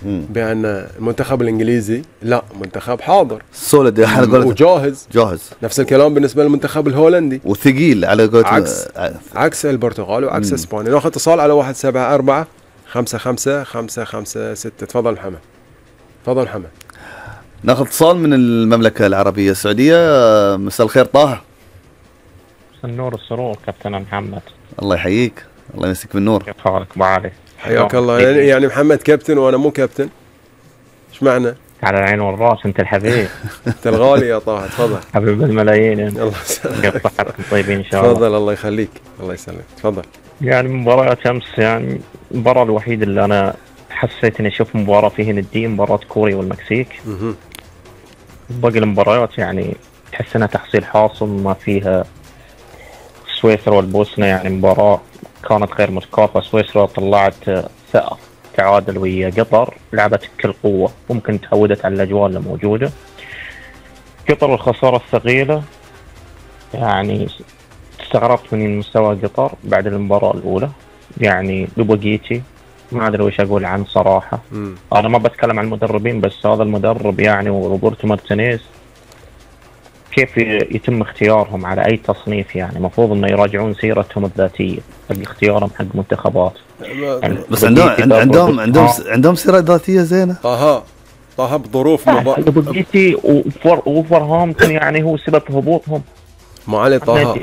بأن المنتخب الإنجليزي لا، منتخب حاضر سوليد وجاهز. جاهز. نفس الكلام بالنسبة للمنتخب الهولندي وثقيل على قولة عكس البرتغال وعكس اسبانيا. ناخذ اتصال على 174 55 556. تفضل محمد. تفضل محمد. ناخذ اتصال من المملكة العربية السعودية. مساء الخير طه. النور السرور كابتن محمد. الله يحييك، الله يمسك بالنور. كيف حالك ابو علي؟ حياك الله. يعني محمد كابتن وانا مو كابتن، ايش معنى؟ على العين والراس، انت الحبيب. انت الغالي يا طه. تفضل حبيب الملايين. الله يسلمك. كيف صحتكم طيبين ان شاء الله؟ تفضل الله يخليك. الله يسلمك. تفضل. يعني مباريات امس، يعني المباراة الوحيدة اللي انا حسيت اني اشوف مباراة فيها ندية مباراة كوريا والمكسيك. باقي المباريات يعني تحس انها تحصيل حاصل، ما فيها. سويسرا والبوسنة يعني مباراة كانت غير متكافئة. سويسرا طلعت ثأر تعادل ويا قطر، لعبت بكل قوة، ممكن تعودت على الأجواء اللي موجودة. قطر الخسارة الثقيلة، يعني استغربت من مستوى قطر بعد المباراة الأولى. يعني لوبوغيتي ما أدري وش أقول عنه صراحة. أنا ما بتكلم عن المدربين، بس هذا المدرب يعني وروبرتو مارتينيز كيف يتم اختيارهم على أي تصنيف؟ يعني مفروض إنه يراجعون سيرتهم الذاتية في اختيارهم حق منتخبات. يعني بس عندهم سيرة ذاتية زينة. طه بظروف لوبوغيتي وولفرهامبتون يعني هو سبب هبوطهم. ما علي طه،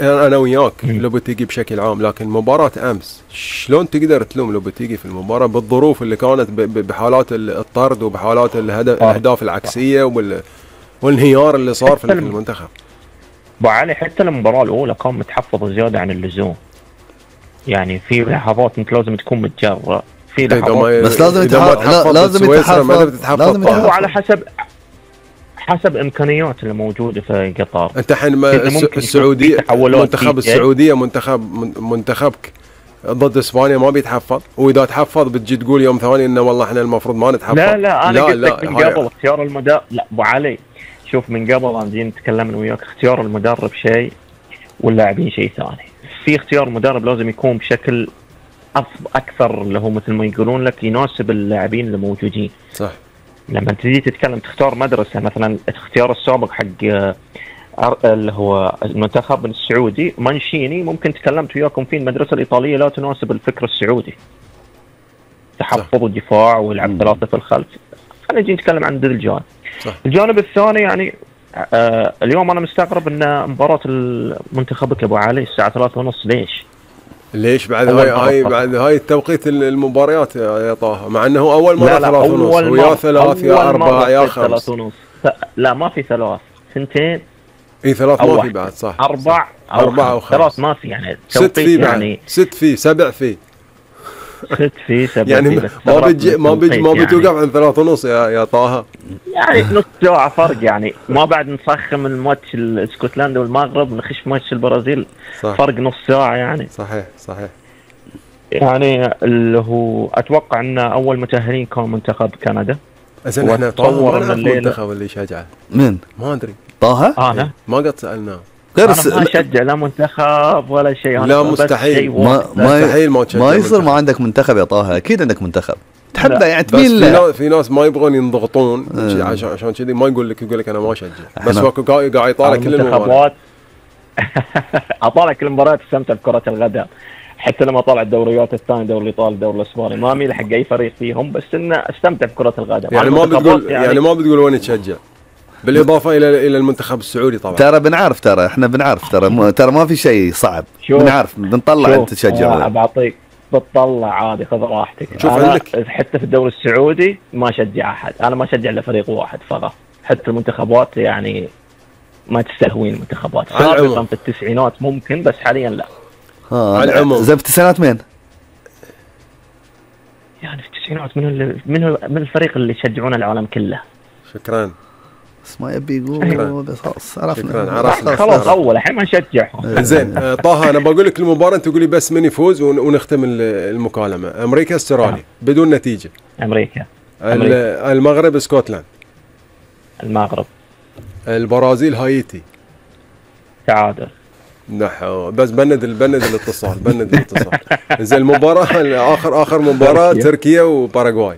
انا وياك لوبوتيجي بشكل عام، لكن مباراة امس شلون تقدر تلوم لوبوتيجي في المباراة بالظروف اللي كانت بحالات الطرد وبحالات الاهداف العكسية والانهيار اللي صار في المنتخب. ابو علي حتى المباراة الاولى كان متحفظ زيادة عن اللزوم. يعني في لحظات انت لازم تكون متجرأ في لحظات، بس لازم تتحفظ. وعلى حسب امكانيات اللي موجوده في قطر. انت الحين السعوديه، منتخب السعوديه منتخبك ضد اسبانيا ما بيتحفظ، واذا تحفظ بتجي تقول يوم ثاني انه والله احنا المفروض ما نتحفظ. لا انا قلت لك من قبل اختيار المدرب. لا ابو علي شوف، من قبل انا جينا نتكلم انا وياك، اختيار المدرب شيء واللاعبين شيء ثاني. في اختيار مدرب لازم يكون بشكل اكثر اللي هو مثل ما يقولون لك يناسب اللاعبين اللي موجودين. صح. لما تجي تتكلم تختار مدرسة، مثلا اختيار السابق حق اللي هو المنتخب السعودي مانشيني، ممكن تكلمت وياكم فيه المدرسة الإيطالية لا تناسب الفكر السعودي، تحفظ الدفاع ويلعب ثلاثة في الخلف. خلينا نجي نتكلم عن الجانب. الجانب الثاني يعني اليوم أنا مستغرب أن مباراة المنتخبك أبو علي الساعة 3:30. ليش بعد هاي التوقيت المباريات يا طه، مع انه اول مرة 3:30 ويا 3 يا 4 يا 5. لا ما في 3 2. اي 3 ما في بعد. صح 4 أو 5. 3 ما في، يعني 6 في يعني 6 في 7 في 6 في 7 يعني ما بتوقف عن 3:30 يا طه. يعني نص ساعة فرق، يعني ما بعد نسخن الماتش اسكتلندا والمغرب نخش ماتش البرازيل. صح. فرق نص ساعة يعني. صحيح. يعني اللي هو اتوقع ان اول متأهلين كان منتخب كندا. زين احنا طه المنتخب اللي شجعه من ما ادري. طه انا ما قد سألناه. أنا ما أشجع لا منتخب ولا شيء. لا مستحيل. مستحيل ما يصير ما عندك منتخب يا طه. أكيد عندك منتخب تحبه يعني تميل له. في ناس ما يبغون ينضغطون عشان كذي ما يقول لك أنا ما أشجع، بس هو قاعد يطالع كل المباريات. أطالع كل المباريات، استمتع بكرة الغداء. حتى لما طالع الدوريات الثانية، دوري الإيطالي، دوري الإسباني، ما أميل حق أي فريق فيهم، بس إنه استمتع بكرة الغداء. يعني ما بتقول وين تشجع، بالإضافة إلى المنتخب السعودي طبعا. ترى بنعرف، ترى ما في شيء صعب. بنعرف بنطلع أنت تشجع. بعطيك بتطلع عادي، خذ راحتك. شوف عندك حتى في الدوري السعودي ما أشجع أحد، أنا ما أشجع إلا فريق واحد فقط. حتى المنتخبات يعني ما تستهوين المنتخبات. سابقا في التسعينات ممكن، بس حاليا لا. زي في التسعينات مين؟ يعني في التسعينات من الفريق اللي يشجعون العالم كله. شكرا. بس ما يبي يقول، بس خلاص عرفنا. خلاص اول الحين ما نشجعهم. زين طه، انا بقول لك المباراه انت تقول لي بس من يفوز ونختم المكالمه. امريكا استراليا بدون نتيجه. امريكا. المغرب اسكتلند. المغرب. البرازيل هايتي. تعادل. نحو بس بند الاتصال. زين المباراه اخر مباراه تركيا وباراغواي.